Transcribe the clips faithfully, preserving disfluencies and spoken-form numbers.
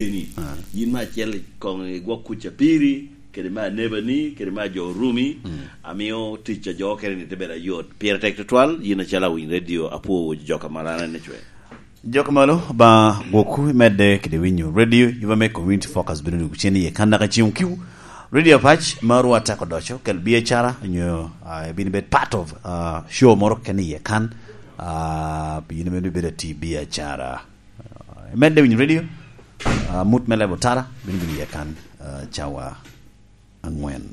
Ni, ah, yin me acel i koŋ i gwok kuc apiri, kede me anebani, kede me ajo orumi, mm, amio tic a jo okene ni te bedo ayot. Pire tek tutwal, yin acalo awiny radio, apwowo jo ka marana ni cwe. Jo ka malo, ba gwokwu imedde kede winyo radio, yuba me Community Focus bino dwogo cen iye kan daka ciŋ kiu. Radio Apac, ma ru atako doco, kel biacara, nyo, ah, ibin bed part of, ah, show moro kene iye kan, ah, yin bino bedo ati biacara. Ah, imedde winyo radio, ah, mut me lebo tara, bino bino iye kan, ah, cawa angwen.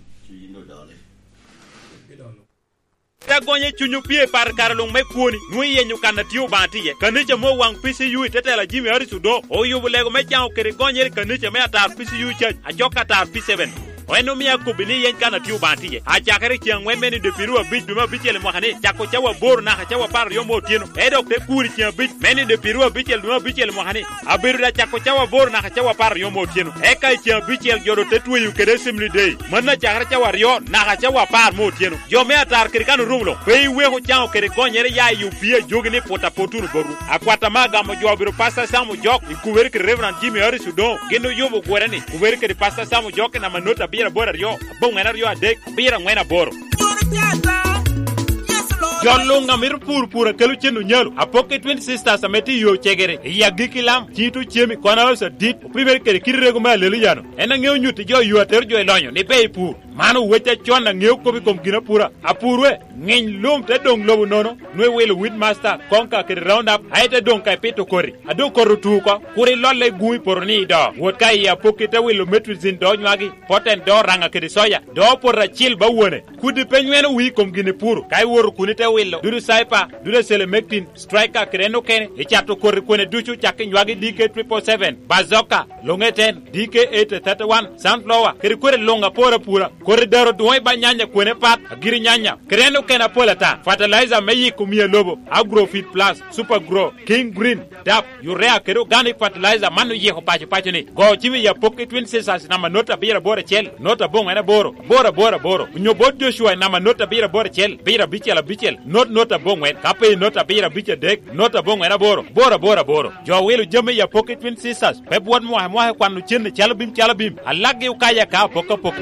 Te gonye cuny opye i par kare luŋ me kwoni, nwoŋo iyenyo kan a tye Obaŋa tye iye. Kanica mo waŋ P C U i te tela Jimmy Harris Odongo oyubo lego me caŋo kede gonyere i kanica me atar P C U church, ajok atar P seven. En omio akobbi ni yeny kan a tye Obaŋa tye iye. Acakere i ceŋ aŋwen me nido pyeraryo abic dwe me abicel i mwaka ni, cako cawa aboro naka cawa apar aryo me otyeno, e dok te kur i ceŋ abic me nido pyeraryo abicel dwe me abicel i mwaka ni, abedo da cako cawa aboro naka cawa apar aryo me otyeno. Eka i ceŋ abicel jo doŋ te tweyo kede Assembly Day. Mano acakere cawa aryo naka cawa apar me otyeno. Jo me atar kede kan orumo luŋ, pe iweko caŋo kede gonyere ya i opii ajogi ni put apot wunu botwu. Akwat ame agamo jo obedo Pastor Sam Ojok, i kubere kede Reverend Jimmy Harris Odongo, gin oyubo gwere ni, kubere kede Pastor Sam Ojok i namba not abiro aboro aryo, aboŋwen aryo adek, abiro aŋwen aboro. Jo luŋ a mito pur pur a kelo cen onyalo, apokke Twin Sisters ame tye i yo cegere, i agikki lam, cito cemi, kono oso adit, opimere kede kit rego me alelo yano. En aŋeo nyutti jo yo atero jo i lonyo ni pe i pur. Man owec acon aŋeo kop i kom gin apura. Apur we, ŋiny lum te doŋ lobo nono, nwe wilo Weedmaster, Konka kede Roundup, aye te doŋ ka ipito koti. A doŋ koti otu oko, kur ilolle i gun i poto ni i do. Wot ka i apokki te wilo Metrozin do nywagi, Poten do Oraŋa kede Soya, do poto acil ba wone. Kudi pe nyweno wi i kom gin ipuro, ka iwoto kun ite wilo, dudu Cyper, dudu Selemectin, Striker kede en okene, icato koti kwene ducu cak i nywagi D K triple seven, Bazooka, Longeten, D K eight thirty-one, Sunflower, kede kwene luŋ apor apura, koti daro dwoŋ i ba nyanya kwene pat, agiri nyanya, kede en okene apol ata, fertilizer me yiko mia lobo, Agrofit Plus, Super Grow, King Green, dap, urea kede organic fertilizer man oyiko paco paco ni. Go cim i apok i Twin Sisters namba not abiro aboro acel, not aboŋwen aboro, aboro aboro aboro. Onyo bot Joshua i namba not abiro aboro acel, abiro abicel abicel, not not aboŋwen. Ka pe i not abiro abic adek, not aboŋwen aboro, aboro aboro aboro. Jo wilo jami i apok i Twin Sisters, pe bwot mwaka mwaka kwano cen calo bim calo bim. Alaggi okaya ka apok apok.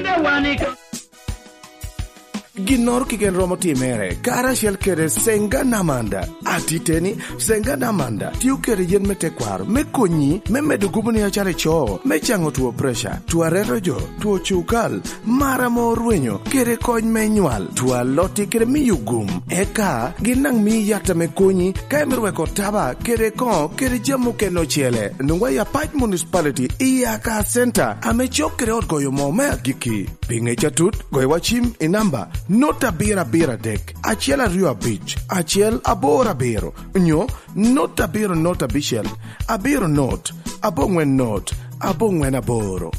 Ginnoro keken romo timere, karacel kede Senga Namanda. Atiteni, Senga Namanda tio kede yen me tekwaro me konyi me medo gubo ni acara ico, me caŋo two preca, two areto jo, two cukal, mar ame orwenyo, kede kony me nywal, two alotti kede miyo gum. Eka, gin daŋ mii yat ame konyi, ka imito weko taba, kede koŋo, kede jami okene ocele. Nwoŋwa i Apac Municipality, i Aka Center, ame cok kede ot goyo moo me agikki. Pi ŋec atut, goywa cim i namba not abiro abiro adek, acel aryo abic, acel aboro abiro, nyo not abiro not abicel, abiro not, aboŋwen not, aboŋwen aboro.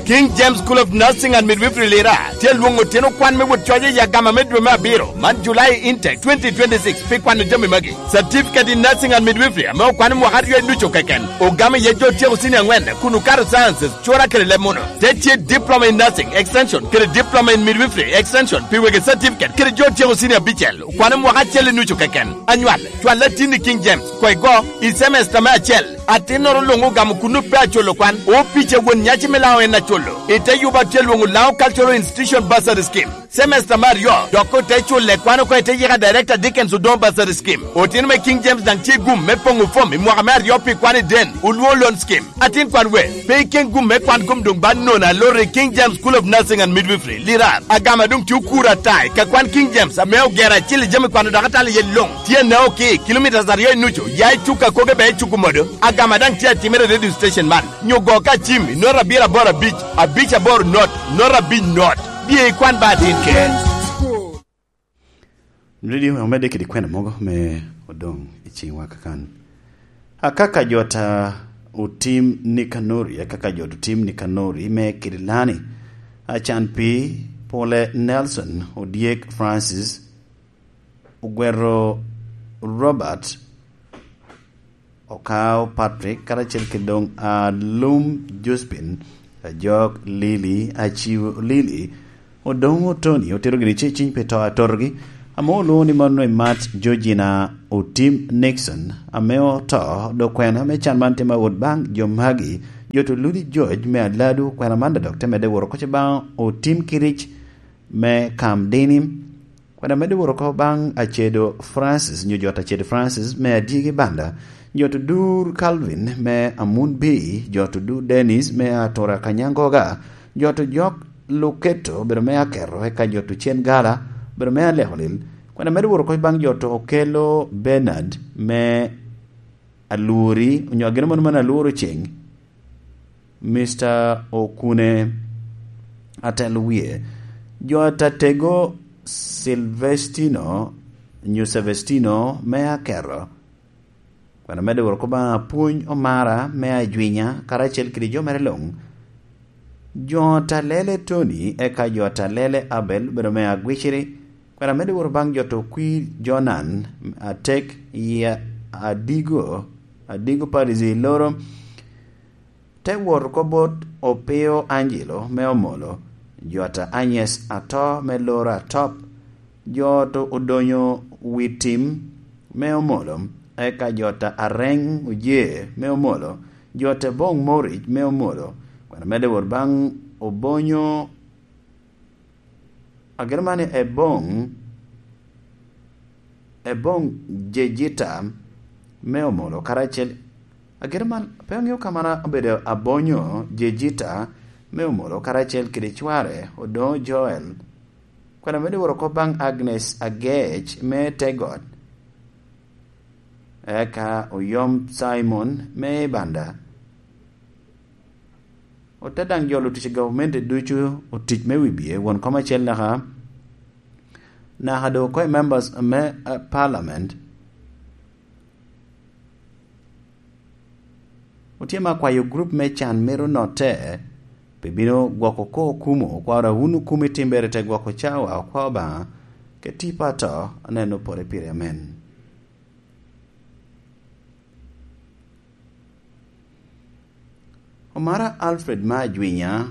King James School of Nursing and Midwifery Lira tye lwoŋo tyen okwan me wot coc i agama me dwe me abiro, man July intake twenty twenty-six, pi kwano jami magi. Certificate in Nursing and Midwifery ame okwano mwaka aryo ducu keken, ogamo iye jo tyeko senior angwen kun okato sciences, cura kede leb muno. Te tye Diploma in Nursing Extension kede Diploma in Midwifery Extension pi wegi certificate kede jo tyeko senior abicel, okwano mwaka acel i nucu keken. Anywal, cwal atin i King James, kwai go, i semester me acel. Atinnoro luŋ ogamo kun pe acolo kwan, opic a won nyaci me Laŋo en acolo. I te yuba tye lwoŋo Laŋo Cultural Institution Bursary Scheme. Semester me aryo, dok ote culle kwan oko i te yika Director Dickens Odongo Bursary Scheme. Otino me King James daŋ tye gum me poŋo fom i mwaka me aryo pi kwan i den, Oluo Loan Scheme. Atin kwan we, pe iken gum me kwan kom doŋ ba nono aloro i King James School of Nursing and Midwifery, Lirar. Agama doŋ tye okuro ata i ka kwan King James ame ogero acil i jami kwano dok atalo iye luŋ. Tye Naoki, kilometres aryo i nucu, ya i cuk a koge bene i cuk omodo. Agama daŋ tye atimere i radio station man. Nyo go ka cim i not abiro aboro abic, abic aboro not, not abic not. Bye ikwan ba atin ke. Redio omedde kede kwena mogo me odoŋ i ciŋwa kakan. Akaka jota otim Nikanori, akaka jot otim Nikanori me kede lani. Acan pi Pole Nelson, Odyek Francis, Ogwero Robert, Okao Patrick, karacel kede doŋ Alum Josephine, Ajok Lili, Aciw Lili, Odoŋo Tony, otero gini ce ciny pi to atotogi, ame olwoŋo ni mano i mat Georgina Otim Nixon, ame oto, dok kwena me can man tye ma wot baŋ jo magi, Jot Oludi George me Aladu, kwena man dok te medde woro koc baŋ Otim Kiric me Kam Dini, kwena medde woro ko baŋ Acedo Francis, nyo jot Acedo Francis me Adyegi Banda, jot Odur Calvin me Amun Bii, jot Odur Dennis me Atura Kanyangoga, jot Ojok Luketo, obedo me Aketo, eka jot Ocen Gala, obedo me Alekolil, kwena medde woro koc baŋ jot Okelo Bernard me Alwori, onyo ageno mano mano Alworo Ceng, Mister Okune Atel Wie, jot Atego Silvestino, nyo Sevestino me Aketo, kwena medde woro ko baŋ Apwony Omara me Ajwinya, karacel kede jo mere luŋ. Jot Alele Tony, eka jot Alele Abel, obedo me Agwiciri, kwena medde woro baŋ jot Okwir Jonan Atek, i Adigo, Adigo Parish i Loro, te wot oko bot Opio Angelo me Omolo, jot Agnes Ato me Loro Atop, jot Odonyo Witim me Omolo, eka jot Areng Oje me Omolo, jot Boŋ Moric me Omolo, kwena medde wot baŋ Obonyo, ageno man Eboŋ, Eboŋ Jejita me Omolo, karacel, ageno man, pe aŋeo ka man obedo Abonyo Jejita me Omolo, karacel kede cware Odoŋo Joel, kwena medde woro ko baŋ Agnes Agec me Tegot, eka Oyom Simon me Banda. Ote daŋ jolo tic i gavumenti ducu otic me wibye, won kom acel naka, naka doŋ oko i members me, eh, parliament. Otye me akwayo group me can mito notte, pi bino gwoko ko okumo, okwaro a wun okumo i timbere te gwoko cawa, okwao Obaŋa, ke tipo ato, aneno pore pire, amen. Omara Alfred me Ajwinya.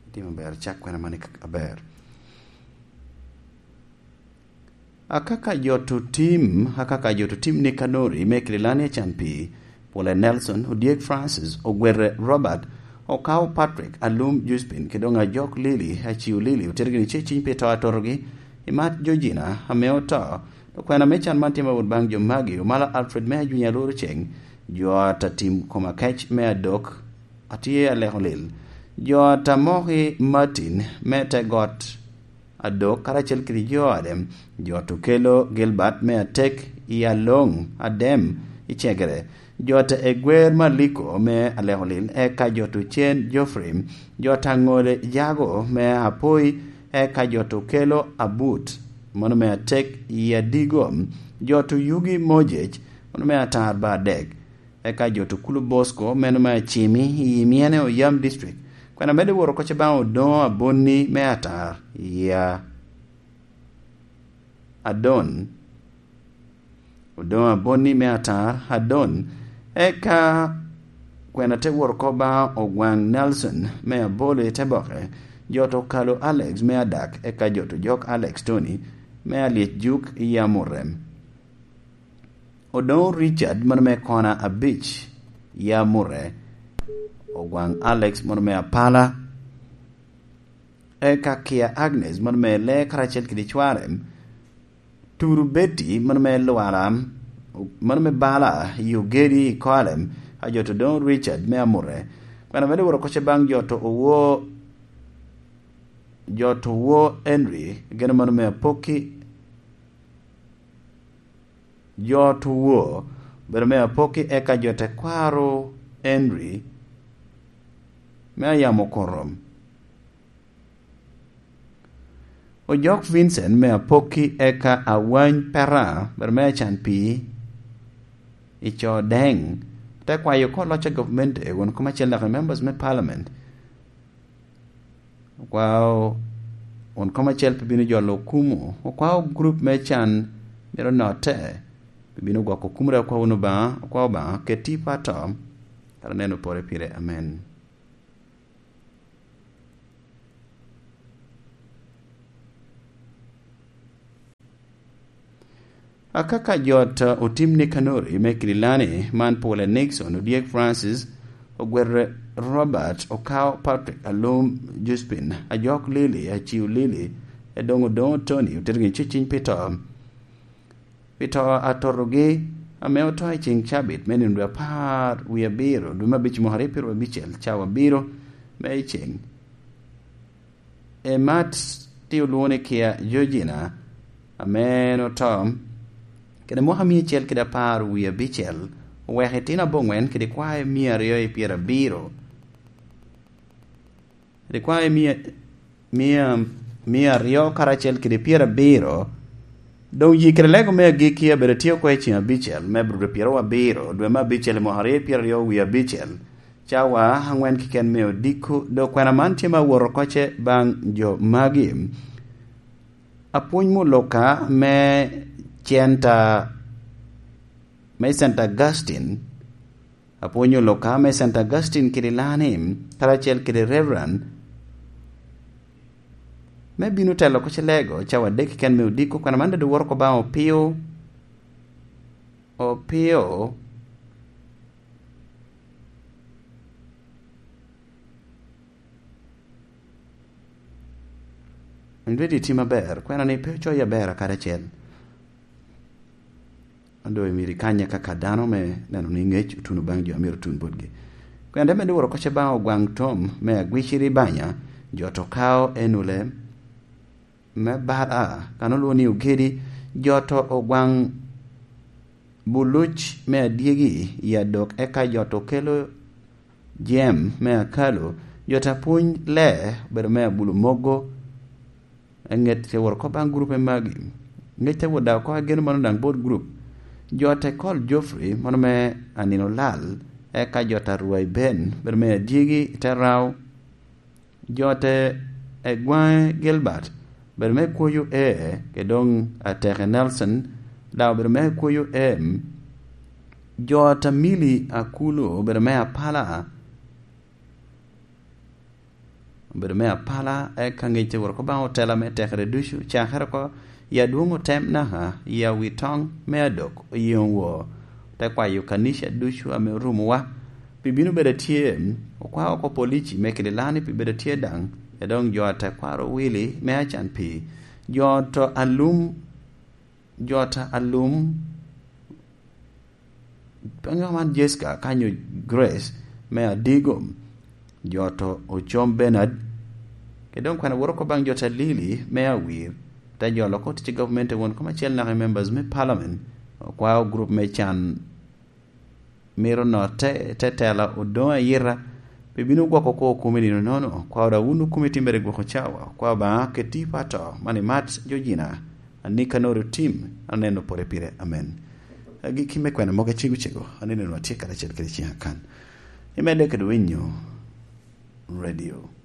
Itimo ber, cak kwena mani aber. Akaka jot Otim, akaka jot Otim Nikanori me Kililani Acanpi, Pwole Nelson, Odyek Francis, Ogwere Robert, Okao Patrick, Alum Juspin, kede doŋ Ajok Lili, Aciu Lili, otergi ni ce ciny pi to atotogi, Imat Georgina, ame oto, okwena me can man tye ma wot baŋ jo magi, Omala Alfred me Ajwinya Lworo Ceng, jo ata tim kom akec me Adok, atye aleko lil, jo ata Moki Martin me te got, Adok, karacel kede jo Adem, jot Okelo Gilbert me Atek i Aloŋ Adem i Cegere, jot Egwer Maliko me Alekolil, eka jot Ocen Geoffrey, jot Aŋole Jago me Apoi, eka jot Okelo Abut, mano me Atek i Adigo, jot Oyugi Mojec, mano me Atar ba adek, eka jot Okulu Bosco, meno me Acimi, i Myene Oyam District. Kwena medde woro koc baŋ Odoŋo Abonni me Atar, ya Adon. Odoŋo Abonni me Atar, Adon. Eka kwena te woro ko baŋ Ogwaŋ Nelson me Abole te boke, jot Okalo Alex me Adak, eka jot Ojok Alex Tony me Alyec Juk i Amurem. Odoŋo Richard, mano me kona abic, ya Mure. Ogwaŋ Alex, mano me Apala. Eka Kia Agnes, mano me Lee karacel kede cware. Turu Betty, mano me Lwara, mano me Bala, i Ogedi i Kolem, a jot Odoŋo Richard me Amure. Kwena medde woro koc baŋ jot Owo, jot Owo Henry, geno mano me Apokki, jot Owo, bedo me Apokki, eka jo tekwaro Henry me Ayamo Korom. Ojok Vincent me Apokki, eka Awany Pera, bedo me Acan Pii, i co Deng, te kwayo kor loc a gavumenti, won kom acel naka members me parliament, okwao won kom acel pe bino jolo okumu, okwao gurup me can myero notte, pe bino gwoko okumere, okwao wunu Obaŋa, okwao Obaŋa, ket tipo ato, kara neno pore pire. Amen. Akaka jot otim ni kanori me Kililani man pole Nixon, odyek Francis, ogwere Robert, okao Patrick, alum Juspin, ajok Lili, aciu Lili, edoŋ odoŋo Tony, otergi ceciny pi to. Pi to atotogi, ame oto i ceŋ cabit me nino dwe apar wie abiro, dwe me abic mwaka aryo pyeraryo abicel, cawa abiro me i ceŋ. Emat ti olwoŋo ni Kia Georgina, ame en oto, kede mwaka mia acel kede apar wie abicel, oweko itino aboŋwen kede kwae mia aryo i pyerabiro. Kede kwae mia, mia, mia aryo karacel kede pyerabiro. Doŋ yi kede lego me agikki abedo tye oko i ceŋ abicel me Abril pyeraryo abiro, dwe me abicel i mwaka aryo pyeraryo wie abicel. Cawa aŋwen keken me odiko, dok kwena man tye ma wot oko ce baŋ jo magi. Apwony muluka me centa, me Saint Augustine, apwony oluka me Saint Augustine kede Lanim, karacel kede Reverend, me bino telo oko ce lego, cawa adek keken me odiko, kwena man dok wot oko baŋ Opio, Opio, Inwedi tye maber, kwena ni pe ocoyi aber akadi acel. Ado imito ikanye kaka dano me neno ni ŋec otuno baŋ jo a myero otun botgi. Kwena te medde wot oko ce baŋ ogwaŋ tom me agwiciri banya, jo to kao enule me bar a, kan olwoŋo ni ogedi, jo to ogwaŋ buluc me adyegi i adok, eka jo to kelo jem me akalo, jo ta pwony lee obedo me abulo mogo. Eŋet te wot oko baŋ gurup me magi. Ŋec te wot daŋ oko ageno mano daŋ bot gurup. Jo te kol Geoffrey, mano me anino lal, eka jo ta rwai Ben, obedo me adyegi i te rao. Jo te egwaŋe Gilbert, obedo me kwoyo E, ke doŋ ateke Nelson, daŋ obedo me kwoyo M. Jo ta mili Akulu, obedo me apala, obedo me apala, eka ŋec te wot oko baŋ otela me tekere ducu, cakere oko i adwoŋ otem naka i awi toŋ me adok oyeŋo woo, te kwayo kanica ducu ame orumowa pi bino bedo atye, okwao oko polici me Kililani pi bedo atye daŋ, edoŋ jo a tekwaro Willy me acan pi jo to alum, jo ta alum, pe ŋo man Jessica kanyo Grace me Adigo, jo to Ocom Bernard, ke doŋ kwena wot oko baŋ jo ta Lili me Awir, te jolo oko tic i government won kom acel naka i members me parliament, okwao group me can mito notte, te tela odoŋ ayita, pi bino gwoko kwo okumi nino nono, kwao da wun okumi timmere gwoko cawa, kwao Obaŋa keti pato, mani mat Georgina, anik anoro tim, aneno pore pire, amen. Agikki me kwena mogo acego cego, aneno nwa tye karacel kede ciŋ akan. Imedde kede winyo radio.